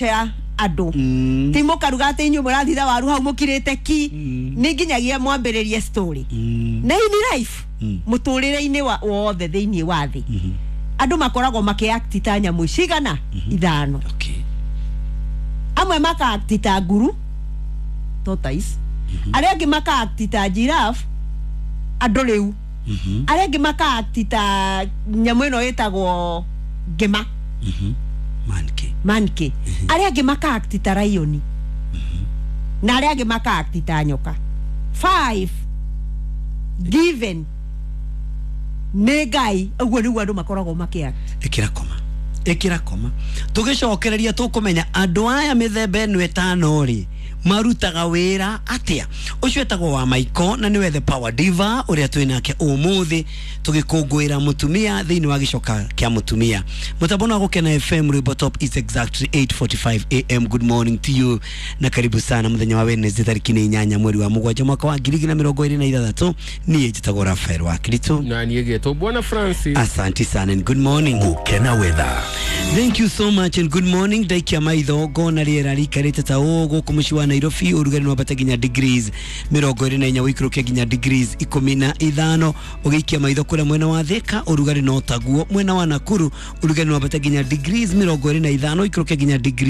Ya andũ ti mũkaruga atĩ inyuĩ mũrathitha waru hau mũkirĩte ki, nĩ nginyagia mwambĩrĩrie story. Na in life, mũtũrĩre-inĩ wothe thĩinĩ wa thĩ, andũ makoragwo makĩact ta nyamũ cigana? Ithano. Amwe makaakti ta nguru, tortoise. Arĩa angĩ makaakti ta giraffe, andũ rĩu. Arĩa angĩ makaakti ta nyamũ ĩno ĩtagwo ngĩma. Monkey. Monkey. Arĩa angĩ makaakti ta lion, na arĩa angĩ makaakti ta nyoka. Five given nĩ Ngai. Ũguo nĩguo andũ makoragwo makĩact. Ĩkĩra koma, ĩkĩra koma, tũgĩcokereria tũkũmenya andũ aya mĩthemba ĩno ĩtano rĩ marutaga wĩra atĩa. Ũcio etagwo wa Maiko na nĩwe the Power Diva ũrĩa twĩ nake ũmũthĩ tũgĩkũngũĩra mũtumia thĩinĩ wa gĩcoka kĩa mũtumia. Mũtambo wa Gũkena FM, rwĩmbo top is exactly 8:45 am. Good morning to you na karibu sana mũthenya wa Wednesday, tarĩki nĩ 8 mweri wa 7 mwaka wa 2026. Niĩ njĩtagwo Rafael wa Kristo. Na niĩ getwo Bwana Francis. Asante sana and good morning. Gukena Weather. Thank you so much and good morning. Ndaikia maitho ngona rĩera rĩikarĩte ta ũũ gũkũ mũciĩ wa Nairobi. Ũrugarĩ nĩ wambata nginya degrees 24, ũikũrũke nginya degrees 15. Ũgĩikia maitho kũrĩa mwena wa Thika, ũrugarĩ no taguo. Mwena wa Nakuru, ũrugarĩ nĩ wambata nginya degrees 25, ũikũrũke nginya degrees